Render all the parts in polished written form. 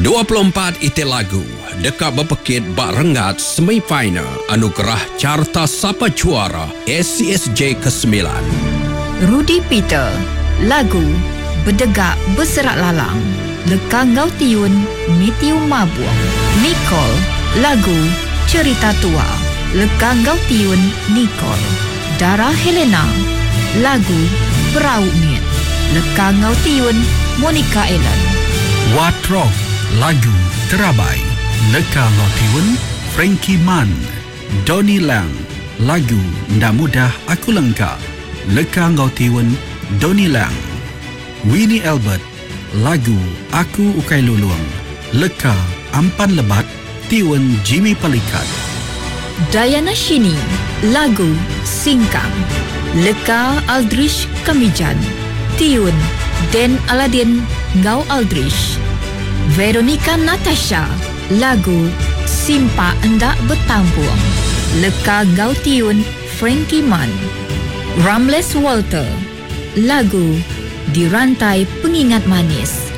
24 iti lagu deka bepekit ba renggat semi-final Anugerah Carta Sapa Juara ACSJ Kesemilan. Rudy Peter, lagu Bedegak Beserak Lalang, leka enggau tiun Mathew Mabong. Nicole, lagu Cerita Tua, leka enggau tiun Nicole. Dara Helena, lagu Perau Mit, leka enggau tiun Monica Ellen. Wat Rock, lagu Terabai, leka enggau tiun Frankie Man. Donny Lang, lagu Enda Mudah Aku Lengka, leka enggau tiun Donny Lang. Winnie Albert, lagu Aku Ukai Lulung, leka Ampan Lebat, tiun Jimmy Palikat. Diana Shini, lagu Singkang, leka Aldrich Kamijan, tiun Dan Aladin enggau Aldrich. Veronica Natasha, lagu Simpak Enda Betampung, leka enggau tiun Frankie Man. Ramles Walter, lagu Dirantai Pengingat Manis,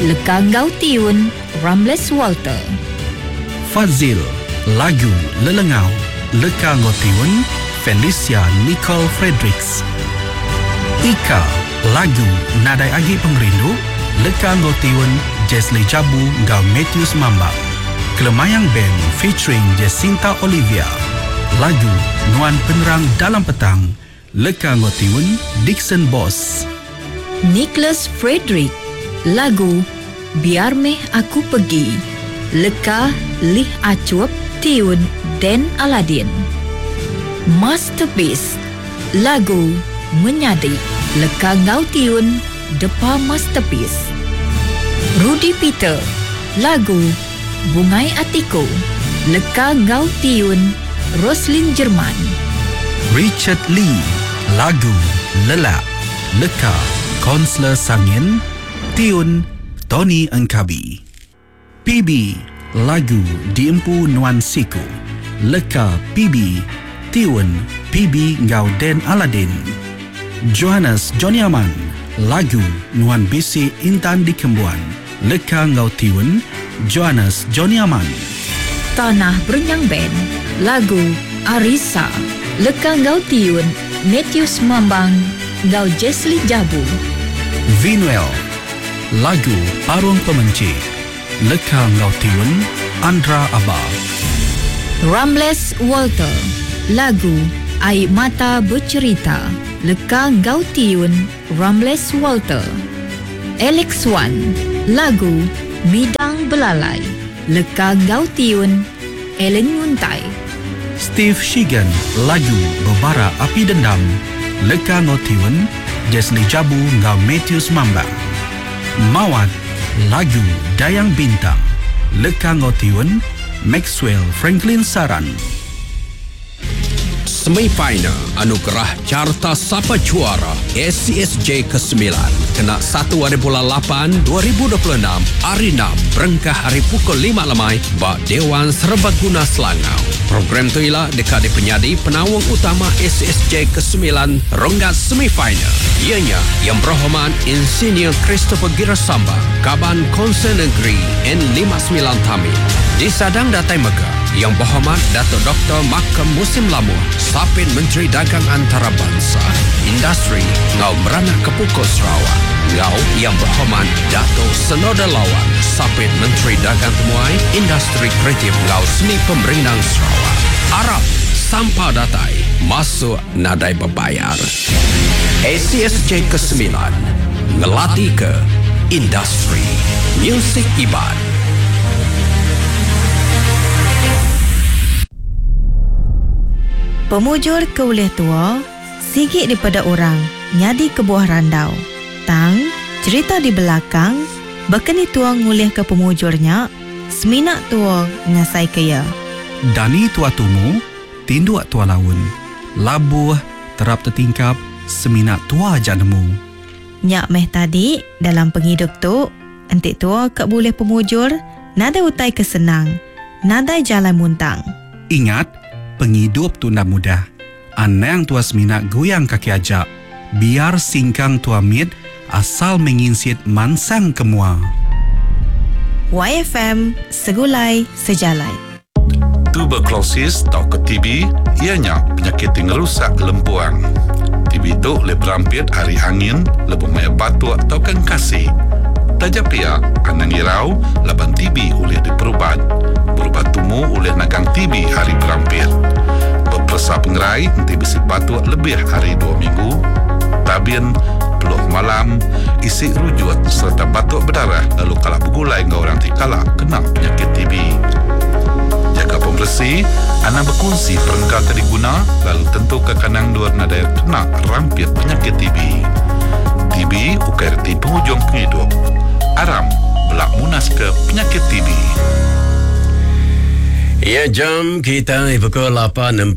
leka enggau tiun Ramles Walter. Fadzil, lagu Lelengau, leka enggau tiun Felicia Nicole Fredericks. Ika, lagu Nadai Agi Pengerindu, leka enggau tiun Jesley Jabu enggau Matthews Mambang. Kelemayang Band featuring Jacinta Olivia, lagu Nuan Penerang Dalam Petang, leka enggau tiun Dickson Boss. Nicholas Frederick, lagu Biar Meh Aku Pergi, leka Lih Achup, tiun Dan Aladin. Masterpiece, lagu Menyadi, leka enggau tiun Depa Masterpiece. Rudy Peter, lagu Bungai Atiku, leka enggau tiun Roslin Jerman. Richard Lee, lagu Lelak, leka Konselor Sangin, tiun Tony Engkabi. PB, lagu Diempu Nuan Siku, leka PB, tiun PB enggau Dan Aladin. Johannes Johnny Aman, lagu Nuan Bisi Intan Dikembuan, leka enggau tiun Johannes Johnny Aman. Tanah Berenyang Band, lagu Arisa, leka enggau tiun Matthews Mambang enggau Jesly Jabu. Vinuel, lagu Parung Pemenchi, leka enggau tiun Andra Aba. Ramles Walter, lagu Ai Mata Becherita, leka enggau tiun Ramles Walter. Alex Wan, lagu Midang Belalai, leka enggau tiun Allen Nguntai. Steve Shigan, lagu Bebara Api Dendam, leka enggau tiun Jesly Jabu enggau Matthews Mambang. Mawat, lagu Dayang Bintang, leka enggau tiun Maxwell Franklin Saran. Semi-final Anugerah Carta Sapa Juara ACSJ Kesemilan kena satu ari bulan lapan 2026 hari enam berengkah ari pukul lima lemai ba Dewan Serbaguna Selangau. Program tu ila deka dipenyadi penaung utama ACSJ Kesemilan renggat semi-final iya nya Yang Berhormat Insinyur Christopher Girasamba, Kaban Konsel Negeri N59 Tamin. Disadang datai mega Yang Berhormat Datuk Doktor Malcolm Musim Lamuh, Sapit Menteri Dagang Antarabansa, Industri enggau Meranak Kepukut Sarawak enggau Yang Berhormat Datuk Senoda Lawan, Sapit Menteri Dagang Temuai, Industri Kreatif enggau Seni Pemerindang Sarawak. Arap sampal datai masuk nadai bebayar. ACSJ Kesemilan ngelatika industri musik Iban. Pemujur ke ulih tua, sigi dipeda orang nyadi kebuah randau. Tang, cherita di belakang, baka ni tua ngulihka pemujur nya, semina tua ngasaika iya. Dani tua tumu, tinduk tua laun. Labuh, terap tetingkap, semina tua aja nemu. Nya meh tadi, dalam pengidup tu, enti tua ka bulih pemujur, nadai utai ke senang, nadai jalai muntang. Ingat, pengidup tu enda mudah. Anang tua semina guyang kaki aja. Biar singkang tua mit, asal meh nginsit mansang ke mua. YFM Segulai Sejalai. Tuberculosis tauka TB iya nya penyakit ti ngerusak lempuang. TB tu ulih berampit ari angin lebuh maya batuk tauka engkasi. Taja pia, anang irau laban TB ulih diperubat. Berubat tumu ulih nagang TB ari berampit. Beperesa pengerai enti bisi batuk lebih ari dua minggu, tabin, peluh malam, isi rujut sereta batuk bedarah lalu kala begulai enggau orang ti kala kena penyakit TB. Jaga pemeresi, anang bekunsi perengka ke diguna lalu tentuka kandang endur nadai kena rampit penyakit TB. TB ukai reti pengujung pengidup. Aram bela munaska penyakit TB. Ya jam kita pukul 8.45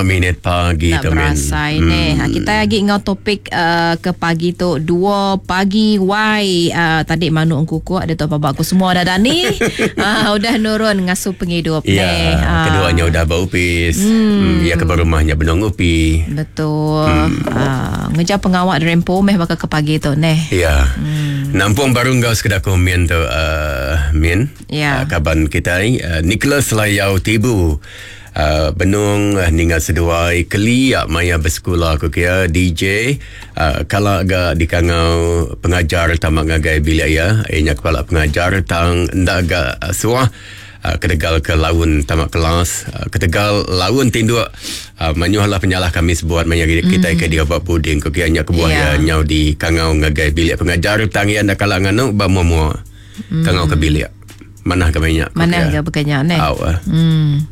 minit pagi Tak berasai hmm. ni. Ha, kita lagi ngau topik uh, ke pagi tu 2 pagi why uh, tadi manuk engkukuk ada tu apa aku semua dah dani uh, udah nurun ngasuh pengidup ya, ni. Uh. Keduanya udah berupis. Hmm. Hmm, ya ke rumahnya benung upi. Betul. Hmm. Uh, ngejar pengawak derempo meh bakal ke pagi tu neh. Ya. Hmm. Nampung baru enggau sekedar komen tu uh, Min. Ya. Uh, kaban kita uh, Nicholas Layau Tibu. Uh, benung uh, ninga seduai keli maya bersekolah aku kira DJ uh, kala ga dikangau pengajar tamak ngagai bilik ya ianya kepala pengajar tang ndak ga uh, suah uh, ketegal ke laun tamak kelas uh, ketegal laun tinduk uh, manyuhlah penyalah kami sebuat maya kita ke dia buat puding ku kira nya kebuah yeah. ya nyau di kangau ngagai bilik pengajar tang ya ndak kala nganu ba mua-mua kangau ke bilik. Manah ke banyak. Manah ke bekanya ne. Hmm.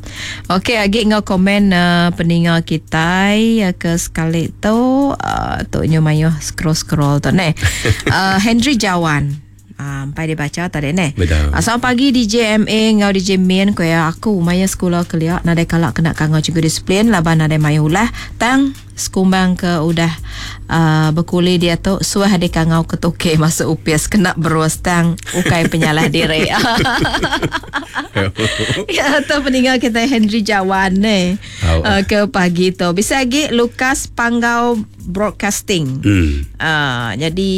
Okey, agi ngau komen uh, peninga kita uh, ke sekali tu uh, tu nyu mayuh scroll-scroll tu ne. Uh, Henry Jawan. Sampai uh, dibaca tadi ne. Betul. Selamat pagi DJ MA ngau DJ Min ko ya aku maya sekolah kelia nadai kalak kena kangau cikgu disiplin laban nadai mayuh ulah tang sekumbang ke udah uh, berkuli dia tu suah di kangau ke toke masuk upis kena berus tang ukai penyalah diri. Ya tu peninggal kita Henry Jawan ne. Oh. Uh, ke pagi tu. Bisa lagi Lukas Panggau Broadcasting. Hmm. Uh, jadi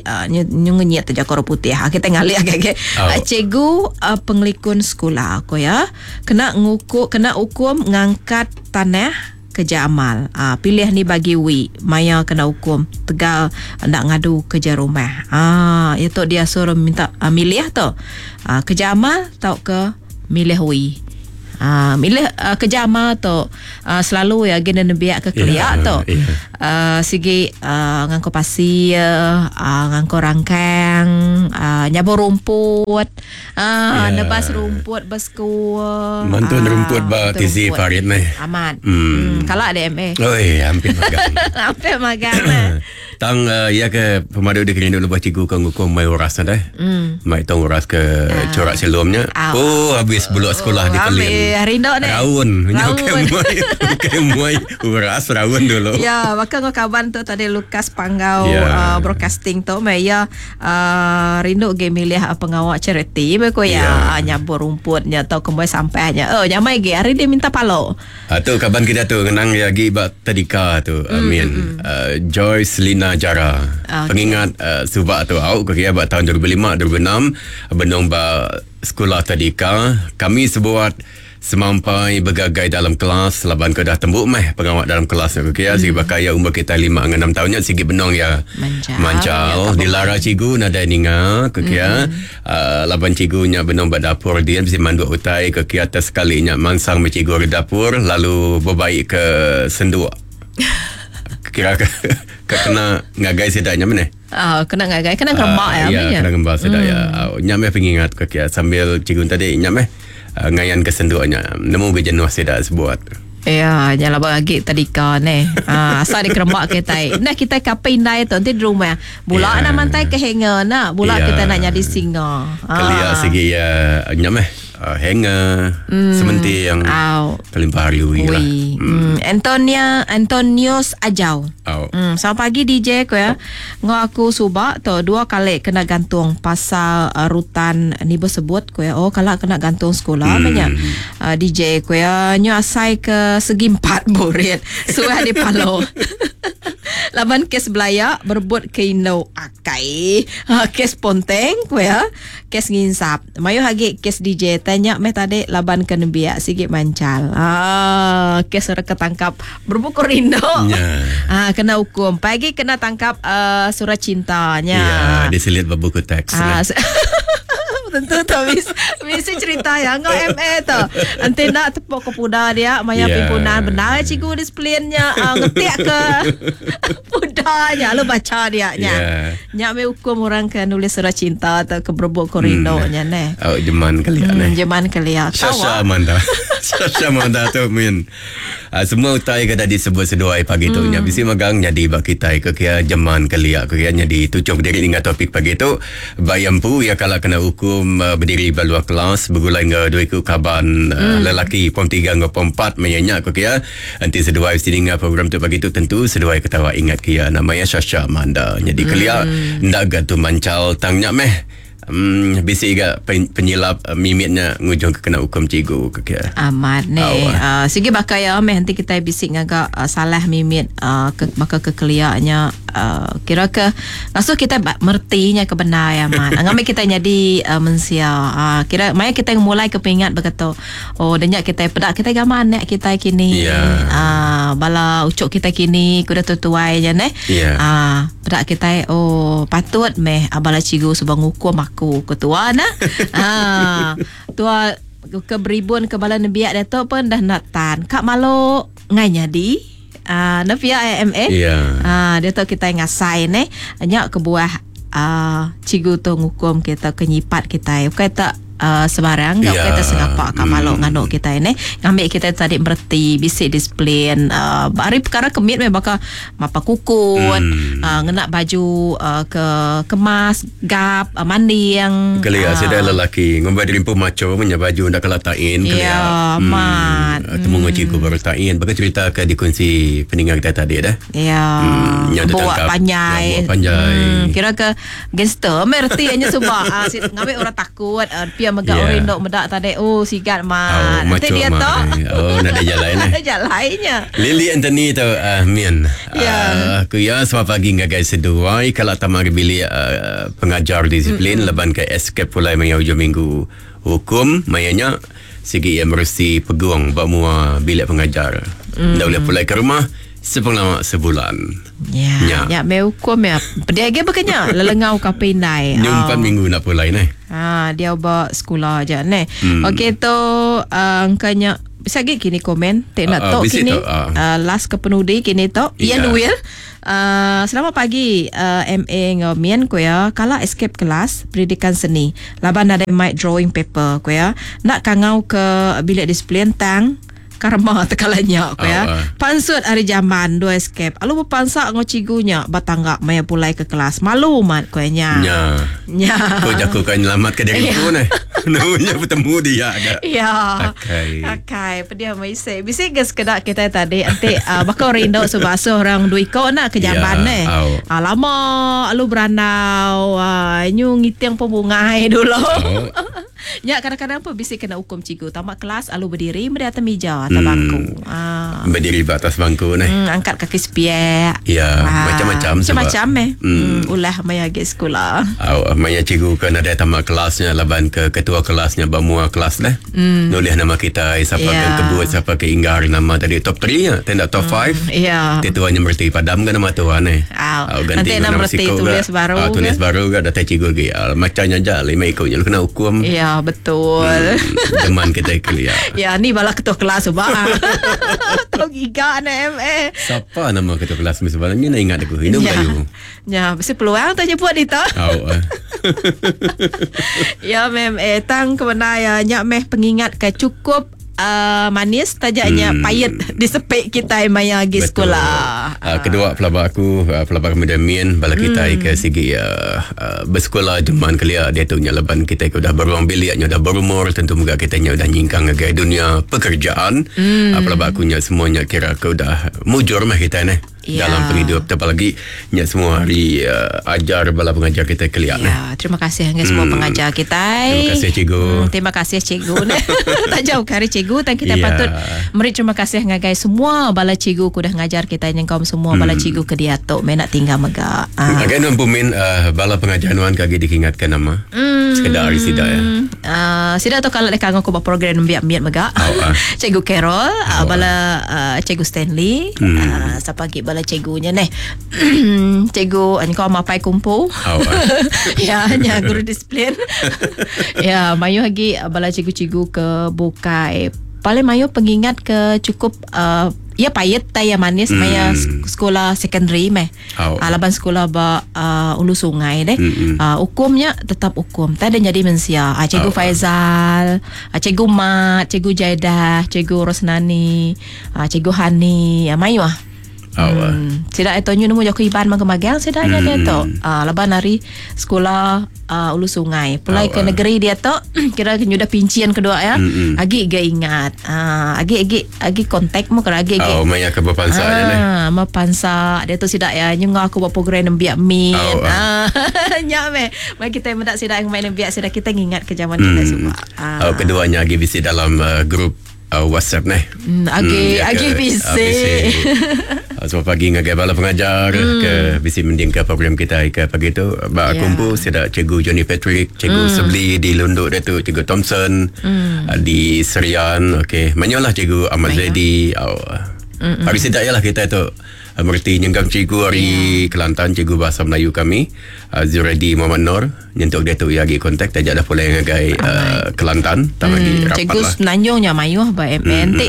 uh, nyenyet tu jakor putih. Ha, kita ngalih agak-agak. Oh. Uh, cikgu uh, pengelikun sekolah aku ya. Kena nguku, kena hukum ngangkat tanah kerja amal. Ah, pilih ni bagi wi maya kena hukum tegal nak ngadu kerja rumah. Ah, itu dia suruh minta uh, milih tu. Ah, kerja amal tau ke milih wi. Ah, milih uh, kerja amal tu uh, selalu ya gena nebiak ke keliak Ya, tu. ya. Sigi uh, ngangko pasir, uh, ngangko rangkang, uh, nyabur rumput, uh, Ya. nebas rumput besku. Mantun rumput ba mantun TC rumput. Farid meh. Amat. Hmm. Hmm. Kalau ada MA. Oi, hampir magang. Hampir magang lah. Tang uh, ya ke pemadu dia kena lepas cikgu kau ngukum mai uras dah. Hmm. Mai tong uras ke corak selomnya. Ah. Oh, habis buluk sekolah di Pelin. Habis, rindu ni. Raun. Raun. Raun. Muai, bukan muai uras raun dulu. Ya, maka ngau kawan tu tadi Lukas Panggau Ya. yeah. uh, broadcasting tu mai ya uh, rindu ge milih uh, pengawak charity be ko ya Ya. yeah. uh, nyabur rumputnya atau kemboi sampahnya. Oh, nyamai ge hari dia minta palo. Ah, tu kawan kita tu kenang lagi bak tadika tu. Amin. Uh, Joyce Lina Jara. Okey. Pengingat uh, subak tu au ke kira bak tahun 2005 2006 benung bak sekolah tadika kami sebuat semampai bergagai dalam kelas laban ke dah tembuk meh pengawak dalam kelas ke kira sigi bakal ya umur kita 5 dengan 6 tahunnya sigi benong ya Mancal. mancal Ya, tak dilara cikgu nadai ninga ke kira uh, laban cikgunya benong bak dapur dia mesti manduk utai ke kira atas sekalinya mansang me cikgu ke dapur lalu berbaik ke senduk kira ke, ke kena ngagai sedaknya mana Ah, kena ngagai, kena ngemak ya. ya, ambilnya. kena ngembal sedak ya. Nyam meh pengingat ke kia sambil cikgu tadi nyam meh uh, ngayan ke senduknya. Nemu ke jenuh sedak sebuat. Ya, jangan lagi tadika ni. Ah, asal dia keremak kita. Nah, kita kapai indai tu nanti di rumah. Bula Ya. nak mantai ke hanger nak. Bula Ya. kita nak jadi singa. Ah. Kelia segi ya nyam meh uh, hanger sementing yang Au. kelimpah hari ui lah. Ui. Hmm. Antonia Antonius Ajau. Au. Selamat pagi DJ ko ya. Ngau aku subak tu dua kali kena gantung pasal uh, rutan ni bersebut ko ya. Oh kalau kena gantung sekolah hmm. banyak. Uh, DJ ko ya nyo asai ke segi empat burit. Suah di palo. Laban kes belaya berebut ke indu akai. Ha, kes ponteng ku iya. Kes nginsap. Mayuh agi kes DJ tai nya meh tadi laban ke nembiak sigi manchal. Ha, kes orang ke tangkap berebut ke rindu. Nya. Ha, kena hukum. Pai agi kena tangkap uh, surat cinta nya. Ya, diselit ba buku teks. Ah, tentu tu bis, bisi cerita ya ngau MA tu. Enti nak tepuk ke puda dia maya yeah. pimpunan benar cikgu disiplinnya uh, ngetik ke puda nya lalu baca dia nya. Yeah. Nya me hukum orang ke nulis surat cinta atau ke berebut ke rindu nya neh. Oh, jeman kelia neh. Jeman kelia. Sasha Amanda. Sasha Amanda tu min. Semua utai ke dah disebut seduai pagi tu nya bisi megang nyadi ba kitai ke kia jeman kelia ke kia nyadi tuchum diri ninga topik pagi tu. Ba iya empu iya kala kena ukum bediri ba luar kelas begulai enggau dua iku kaban lelaki pom tiga enggau pom empat maya nya ku kia. Enti seduai bisi ninga program tu pagi tu tentu seduai ketawa ingat ke iya nama iya Shasha Amanda. Nyadi kelia enda ga tu manchal tang nya meh. Em bisi ga penyilap mimit nya ngujung ke kena ukum cikgu ke kia. Amat neh. Uh, sigi baka iya meh enti kitai bisi ngaga uh, salah mimit uh, ke, baka ke kelia nya uh, kira ke ngasuh kitai mereti nya ke bendar ya amat. Ngambi kitai nyadi uh, mensia. Uh, kira maya kitai ngemulai ke pengingat baka tu. Oh dah nya kitai peda kitai gamal anak kitai kini. Yeah. Uh, bala ucuk kitai kini kuda tuai nya neh. Yeah. Uh, Peda kitai oh patut meh bala cikgu suba ngukum aku ku tua nah. ha tua ke beribun ke bala nembiak diatu pun dah enda tan. Ka malu ngai nyadi. Ah ne pia AMA. Yeah. Ah diatu kitai ngasai neh. Nya kebuah ah cikgu tu ngukum kita ke nyipat kitai. Ukai tak uh, sebarang yeah. ukai tersengapa ka malu mm. nganu kitai neh ngambi kitai tadi mereti bisi disiplin uh, ari perkara kemit meh baka mapa kukut mm. uh, ngena baju uh, ke kemas gap uh, manding kelia uh, sida lelaki ngumbai diri empu macho menya baju nda kala tain kelia yeah, mm. mat temu mm. cikgu baru tain baka cerita ke dikunsi peninga kita tadi dah ya mm, buat panjai buat panjai mm, kira ke Gangster meh reti nya suba. Ah, si, ngambil orang takut. Uh, pia mega Yeah. orang rindu meda tadi. Oh, sigat Oh, mat. Nanti macho dia mat. tu. Oh, nadai jalai neh. Nadai jalainya. Lily Anthony tu uh, Min. Ya. Aku ya selamat pagi ngagai seduai kalau tamak bilik uh, pengajar disiplin mm-hmm. leban ke escape pulai maya hujung minggu hukum mayanya sigi ia meresi peguang ba mua bilik pengajar. Mm. Nda boleh pulai ke rumah sepengelama sebulan. Ya, Ya. ya me hukum ya. Pedih agi bekenya lelengau ka pindai. Nyumpan minggu nak pulai neh. Ha, dia ba sekolah aja neh. Hmm. Okey tu uh, angkanya bisa lagi kini komen tak nak Ah, ah, tok bisi kini tok, ah. uh, last ke penudi kini tok Ya. Ian Will selamat pagi uh, MA ngau Mian ku ya kala escape kelas pendidikan seni laban ada mic drawing paper ku ya nak kangau ke bilik disiplin tang karma tekalanya ku ya Ah, ah. pansut hari jaman dua escape alu berpansak ngau cigunya batangga maya pulai ke kelas malu mat ku nya Nya. nya Kau jaku kan nyelamat ke diri Ya. ku neh. Nunya bertemu dia agak. Ya. Akai. Akai, pedih mai se. Bisi ke sekeda kita tadi enti uh, baka rindu sebasuh orang dua iko nak ke jamban Ya, eh. au. Ah, lama alu berandau, ah, nyu ngiting pembungai dulu. Oh. Ya kadang-kadang pun bisi kena hukum cikgu. Tamat kelas alu berdiri meri atas meja atas bangku. Ah. Berdiri ba atas bangku neh. Angkat kaki sepiak. Ya, Ah, macam-macam sebab. Macam-macam eh. Hmm. Ulah maya agi sekolah. Au, maya cikgu kan ada tamat kelasnya laban ke ketua kelasnya ba mua kelas lah. Mm. Nulis nama kita siapa Ya. ke kebut siapa ke inggar nama tadi top 3 ya, tidak top 5. Ya. Tetuanya merti padam kan nama tuan eh. Au. Au, ganti Nanti dengan nak nama merti siko tulis gak. baru Ah, tulis ke? baru gak datang cikgu lagi. Ah, macamnya aja lima ikutnya lu kena hukum. Ya, betul. Teman kita kelia. Ya, ni bala ketua kelas sebab. Tau giga na MA. Siapa nama ketua kelas sebenarnya nak ingat aku. Ini Ya. Melayu. Ya, mesti peluang tu jemput dia. Au. ah. Ya, mem eh tang kemana ya nyak meh pengingat ke cukup uh, manis tajaknya pahit disepik kita maya gi Betul. sekolah. Kedua pelaba aku, pelaba kami Damien, bala kita hmm. ke segi bersekolah jeman kelia dia tu nya leban kita ke dah beruang biliknya dah berumur tentu juga kita nya dah nyingkang ke dunia pekerjaan. Pelaba aku nya semuanya kira ke dah mujur mah kita ni. Ya. dalam pengidup tu apalagi nya semua hari uh, ajar bala pengajar kita keliak nah. Ya, terima kasih dengan semua pengajar kita. Terima kasih, cikgu. Terima kasih cikgu. tak jauh kari cikgu dan kita Ya. patut meri terima kasih ngagai semua bala cikgu ku dah ngajar kita nyengkaum semua bala cikgu ke diatu menak tinggal mega. Ah. Agak nuan pumin uh, bala pengajar nuan kagi dikingatkan nama. Sekedar hari sida ya. Uh, sida tu kalau dekat aku buat program nembiak miat mega. Oh, ah. Cikgu Carol, uh, bala uh, Cikgu Stanley, uh, siapa lagi bala cikgunya neh. cikgu engkau mapai kumpu. Oh, ah. ya, nya guru disiplin. ya, mayu lagi bala cikgu-cikgu ke bukai. Paling mayu pengingat ke cukup uh, ya payet tai ya manis maya sekolah secondary meh. Oh. Ah, laban sekolah ba uh, ulu sungai deh. Mm-mm. Uh, hukumnya tetap hukum. Tak ada jadi mensia. Ah, Cikgu Oh. Faizal, ah, Cikgu Mat, Cikgu Jaidah, Cikgu Rosnani, ah, Cikgu Hani, ah, mayu ah. Oh, ah. Sida itu nyu nemu jaku Iban magang-magang sida nya dia tu. Ah laban hari sekolah ulu sungai. Pulai Oh, ke ah. negeri dia tu kira nyu dah pincian kedua ya. Mm-mm. Agi ge ingat. Ah agi agi agi kontak mu kira agi agi. Oh, maya ke berpansa ya neh. Ah, ma pansa dia tu sidak ya nyu ngau aku buat program nembiak min. Oh, Ah, nya me. Mai kita mendak sidak yang main nembiak sidak kita ngingat ke zaman kita semua. Ah. Oh, keduanya agi bisi dalam uh, grup uh, WhatsApp neh. Agi ya agi ke, bisi. ah, bisi. Ah, Selamat pagi ngagai bala pengajar ke bisi mending ke program kita ke pagi tu. Ba Ya. kumpu sida cikgu Johnny Patrick, cikgu Sebli di Lunduk dia tu, cikgu Thompson di Serian. Okey, manyolah cikgu Ahmad Zaidi. Oh. Hari sida ialah kita tu ah, Merti nyenggam cikgu hari Kelantan cikgu bahasa Melayu kami uh, Zuradi Muhammad Nur nyentuk dia tu ia lagi kontak tajak dah pulai ngagai uh, Kelantan tak lagi rapat Cikgu lah Semenanjungnya mayuh ba MN ti.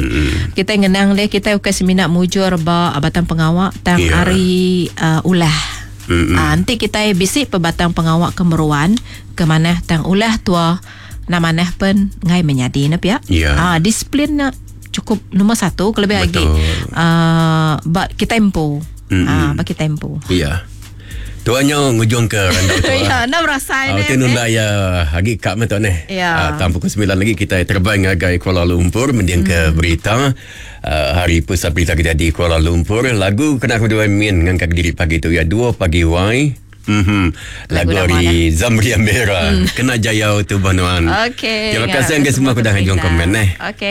Kita ngenang le kita bukan semina mujur ba batang pengawak tang Ya. hari ulah. Mm-mm. Ah, nanti kita bisi pebatang pengawak kemeruan ke mana tang ulah tua na manah pen ngai menyadi na pia. Ya. Ah, disiplin na cukup nombor satu kelebih lagi. Betul. Ah, ba kita empu. Mm-mm. Ah, ba kita empu. Ya. Tuannya ngujung ke randau tua. Ya, nak merasa Ah, ni. tu nunda ya agi kak mah tu ni. Ya. Ah, tam pukul 9 lagi kita terbang ngagai Kuala Lumpur mending ke berita hari pusat berita kita di Kuala Lumpur. Lagu kena aku dua min ngangkat diri pagi tu ya 2 pagi wai. Mhm. Lagu Lagu lama hari Zamri Amira. Kena jayau tu banuan. Okey. Terima kasih ke semua Semua kedah hujung berita. komen eh. Okey.